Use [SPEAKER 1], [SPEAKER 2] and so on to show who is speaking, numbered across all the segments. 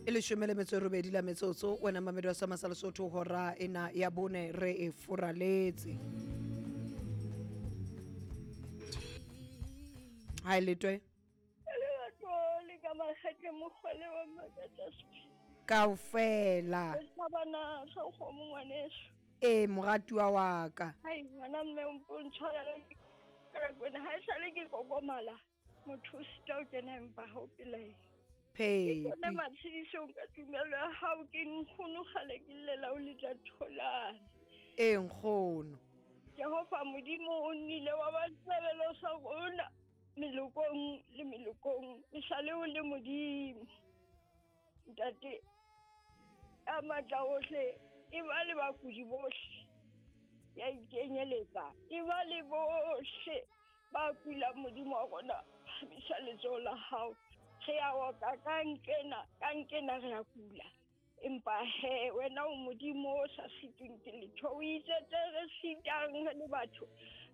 [SPEAKER 1] E leshome le metso e robedi la metsotso wena mamedi wa sama sa Lesotho, hora ena ya bone re e furaletse. Ha e letwe
[SPEAKER 2] le ka makgetle mokgwele wa makatsa
[SPEAKER 1] kaofela.
[SPEAKER 2] Sabana sa kgomo ngwaneso.
[SPEAKER 1] Ee, moratuwa wa ka.
[SPEAKER 2] Hai ngwana mme o mpo ntshwarela ka kwena ha esale ke kokomala motho o sita o kena empa ha o pelaela.
[SPEAKER 1] Phepi.
[SPEAKER 2] Ke matshedisong ka tumelo ya hao ke nkgono kgale ke llela o letla tholana.
[SPEAKER 1] Ee nkgono.
[SPEAKER 2] Jehova Modimo o nnile wa ba sebelo sa rona melokong le melokong e sale o le Modimo. Ntate ya matla ohle e ba le bakudi bohle ya ikenyeletsa e ba le bohle ba kulang Modimo wa rona phamisa letsoho la hao re ya oka ka nkena re ya kula empa he wena o Modimo o sa sitweng ke letho o itse tse re sitang re le batho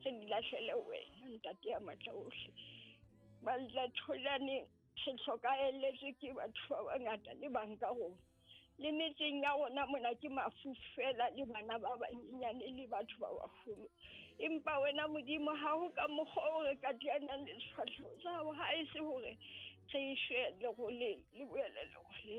[SPEAKER 2] re di lahlele wena ntate ya matla ohle. Ba tholane re hlokaelletswe ke batho ba bangata le bang ka rona le metseng ya rona mona ke mafu fela le bana ba banyenyane le batho ba baholo empa wena Modimo ha ho ka mokgwa o re ka teanang le sefahleho sa hao ha e se hore re shwe leroleng le boele leroleng.